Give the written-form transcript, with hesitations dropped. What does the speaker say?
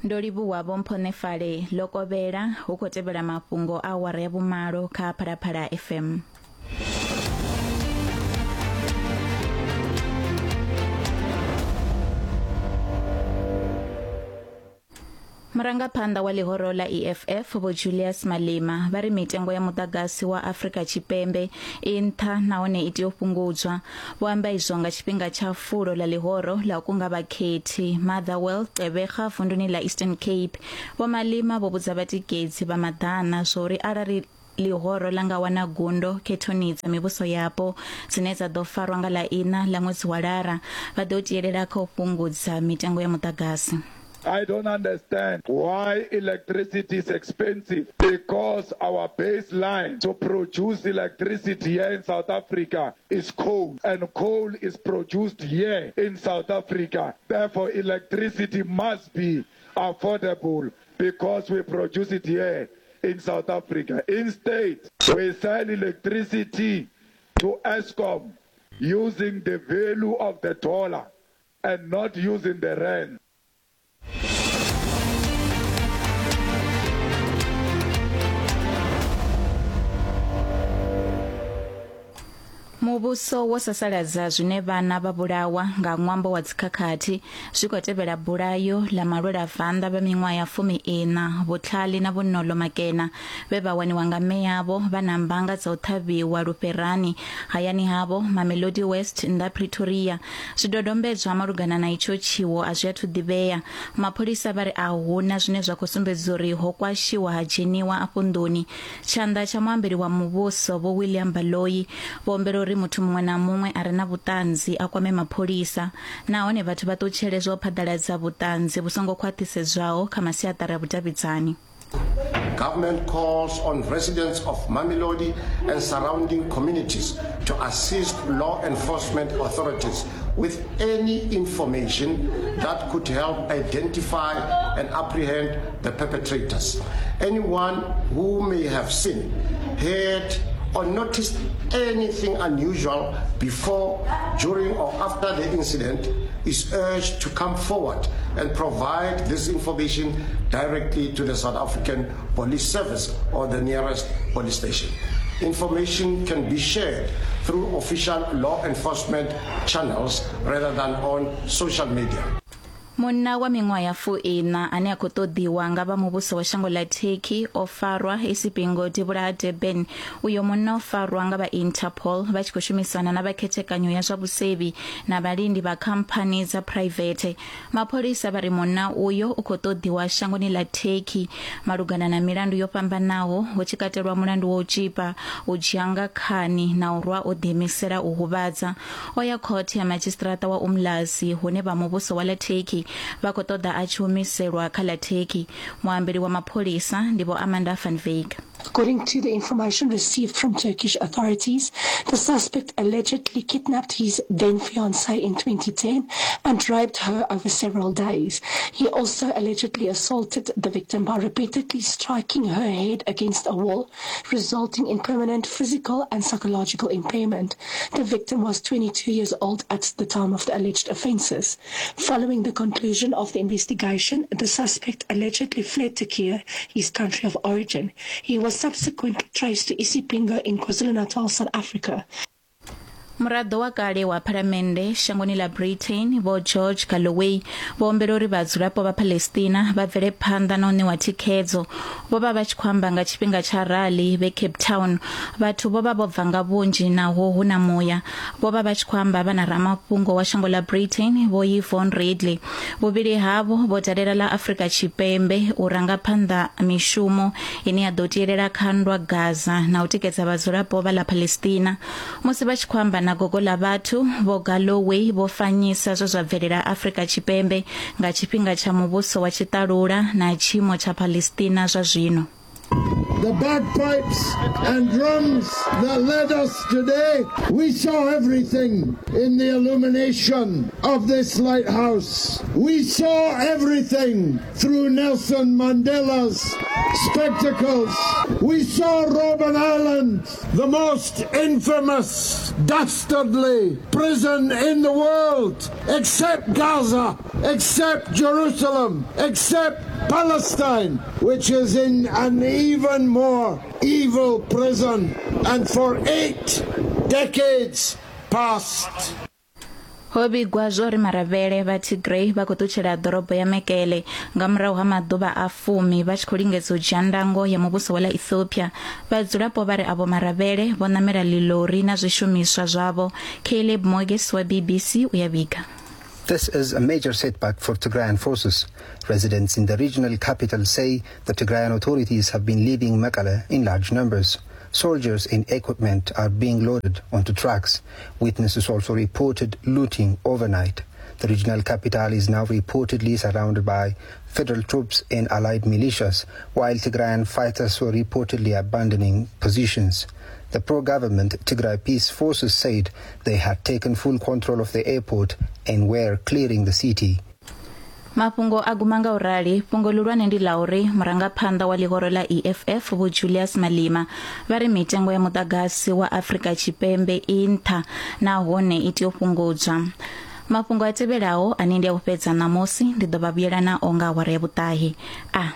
Ndo livhuwa Vho Mphonefale ḽo kovhela hu khou tevhela mafhungo a awara ya vhumalo kha Phalaphala FM. Murangaphanḓa wa ḽihoro ḽa EFF Vho Julius Malema vha ri mitengo ya muḓagasi wa Afrika Tshipembe i nṱha nahone i tea u fhungudzwa. Vho amba izwo nga tshifhinga tsha fulo ḽa ḽihoro ḽa u kunga vhakhethi Motherwell, Gqeberha vunduni ḽa Eastern Cape. Vho Malema vho vhudza vhatikedzi vha maḓana zwauri arali ḽihoro ḽa nga wana gundo khethoni dza mivhuso yapo dzine dza ḓo farwa nga ḽa iṋa ḽa ṅwedzi wa Lara, vha ḓo tielela kha u fhungudza mitengo ya muḓagasi. I don't understand why electricity is expensive because our baseline to produce electricity here in South Africa is coal and coal is produced here in South Africa. Therefore, electricity must be affordable because we produce it here in South Africa. Instead, we sell electricity to Eskom using the value of the dollar and not using the rand. Muvhuso wo sasaladza zwine vhana vha vhulawa nga ṅwambo wa dzikhakhathi zwi khou tevhela bulayo ḽa malwelavanḓa vha miṅwaha ya 14 Vhutlhali na Vhonolo Makena vhe vha waniwa nga mme avho vha na mbanga dza u ṱhavhiwa lufherani hayani havho Mamelodi West nnḓa Pretoria. Zwidodombedzwa malugana na itsho tshiwo a zwi athu ḓivhea. Mapholisa vha ri a hu na zwine zwa khou sumbedza uri ho kwashiwa ha dzheniwa afho nḓuni. Tshanḓa tsha muambeli wa muvhuso Vho William Baloyi vho humbela uri muthu muṅwe na muṅwe a re na vhuṱanzi a kwame mapholisa nahone vhathu vha ṱutshele zwa u phaḓaladza vhuṱanzi vhu songo khwaṱhisedzwaho kha masiaṱari a vhudavhidzani. Government calls on residents of Mamelodi and surrounding communities to assist law enforcement authorities with any information that could help identify and apprehend the perpetrators. Anyone who may have seen, heard, or noticed anything unusual before, during, or after the incident is urged to come forward and provide this information directly to the South African Police Service or the nearest police station. Information can be shared through official law enforcement channels rather than on social media. Munna wa miṅwaha ya fuiṋa ane a khou ṱoḓiwa nga vha muvhuso wa shango ḽa Turkey o farwa Isipingo devhula ha Durban. Uyo munna o farwa nga vha Interpol vha tshi khou shumisana na vha khethekanyo ya zwa vhusevhi na vhalindi vha khamphani dza phuraivethe. Mapholisa vha ri munna uyo u khou ṱoḓiwa shangoni ḽa Turkey malugana na milandu yo fhambanaho hu tshi katelwa mulandu wa u tzhipa, u dzhia nga khani na u rwa o ḓiimisela u huvhadza. O ya khothe ya madzhisiṱiraṱa wa Umlazi hune vha muvhuso wa ḽa Turkey vha khou ṱoḓa a tshi humiselwa kha ḽa Turkey. Muambeli wa mapholisa ndi Vho Amanda van Wyk. According to the information received from Turkish authorities, the suspect allegedly kidnapped his then fiancée in 2010 and raped her over several days. He also allegedly assaulted the victim by repeatedly striking her head against a wall, resulting in permanent physical and psychological impairment. The victim was 22 years old at the time of the alleged offences. Following the conclusion of the investigation, the suspect allegedly fled to Turkey, his country of origin. He was subsequently traced to Isipingo in KwaZulu-Natal, South Africa. Muraḓo wa kale wa phalamennde shangoni ḽa Britain Vho George Galloway vho humbela uri vhadzulapo vha Palestina vha bvele phanḓa na u ṋewa thikhedzo. Vho vha vha tshi khou amba nga tshifhinga tsha rali vhe Cape Town. Vhathu vho vha vho bva nga vhunzhi naho hu na muya. Vho vha vha tshi khou amba vha na ramafhungo wa shango ḽa Britain Vho Yvonne Ridley. Vhuvhili havho vho dalela ḽa Afrika Tshipembe u ranga phanḓa mishumo ine ya ḓo tielela kha nndwa Gaza na u tikedza vhadzulapo vha ḽa Palestina. Musi vha tshi khou amba na gogo ḽa vhathu, Vho Galloway vho fanyisa zwe zwa bvelela Afrika Tshipembe nga tshifhinga tsha muvhuso wa tshiṱalula na tshiimo tsha Palestina zwa zwino. the bagpipes and drums that led us today. We saw everything in the illumination of this lighthouse. We saw everything through Nelson Mandela's spectacles. We saw Robben Island, the most infamous, dastardly prison in the world, except Gaza, except Jerusalem, except Palestine, which is in an even more evil prison, and for eight decades past. Ho vhigwa zwo ri maravhele vha Tigray vha khou ṱutshela ḓorobo ya Mekele nga murahu ha maḓuvha a fumi vha tshi khou lingedza u dzhia ndango ya muvhuso wa ḽa Ethiopia. Vhadzulapo vha ri avho maravhele vho ṋamela ḽiḽori na zwishumiswa zwavho. Caleb Mogis wa BBC u ya vhiga. This is a major setback for Tigrayan forces. Residents in the regional capital say the Tigrayan authorities have been leaving Mekelle in large numbers. Soldiers and equipment are being loaded onto trucks. Witnesses also reported looting overnight. The regional capital is now reportedly surrounded by federal troops and allied militias, while Tigrayan fighters were reportedly abandoning positions. The pro-government Tigray Peace Forces said they had taken full control of the airport and were clearing the city. Mafhungo a guma nga u rali. Fhungo ḽihulwane ndi ḽa uri murangaphanḓa wa ḽihoro ḽa EFF Vho Julius Malema vha ri mitengo ya muḓagasi wa Afrika Tshipembe i nṱha nahone i tea u fhungudzwa. Mafhungo a tevhelaho ane ndi a u fhedza ṋamusi ndi ḓo vha vhuyela nao nga awara ya vhuṱahe. A.